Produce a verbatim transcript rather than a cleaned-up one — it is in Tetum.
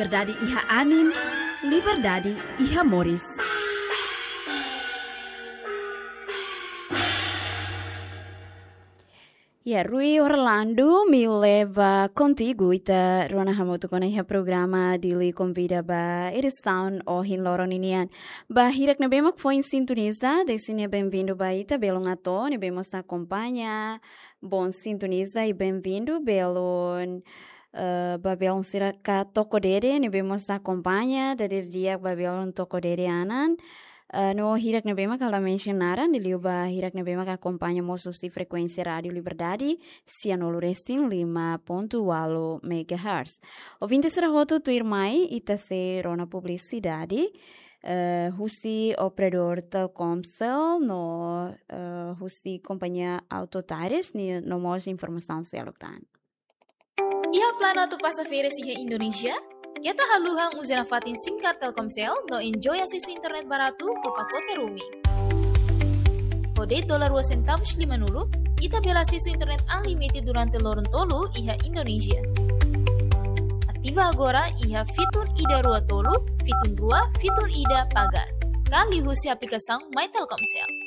Liberdade iha anin, liberdade iha moris. Ya, Rui Orlando, Mi Leva Contigo, ita rona hamutuk ona iha programa Dili Konvida ba edisaun ohin loron ninian. Ba hirak ne'ebé mak foin sintoniza, dezde ne'e benvindu ba ita, belun atu, ne'ebé mós akompaña, bom sintoniza i benvindu, belun, eh, ba belun sira ka toko dede, ne'ebé mós akompaña, dadeer di'ak ba belun toko dede anan. Eh, no hirak ne'ebé mak ha'u la mensiona naran, liuliu ba hirak ne'ebé mak akompaña mós husi frekuénsia Rádiu Liberdade, sianulu resin lima pontu ualu megahertz. Ouvinte sira hotu tuirmai, ita sei rona publisidade, eh, husi operadór Telkomcel, no, eh, husi kompañia Auto Tires, ni no mós informasaun seluk tan. Iha planu atu pasa férias iha Indonézia? Keta haluha uza nafatin SIM card Telkomcel no enjoy asesu internet baratu ho pakote roaming. Ho de'it dolar rua sentavus limanulu, ita bele asesu internet unlimited durante loron tolu iha Indonézia. Ativa agora iha fitun ida rua tolu, fitun rua, fitun ida pagar. Ka liuhusi aplikasaun My Telkomcel.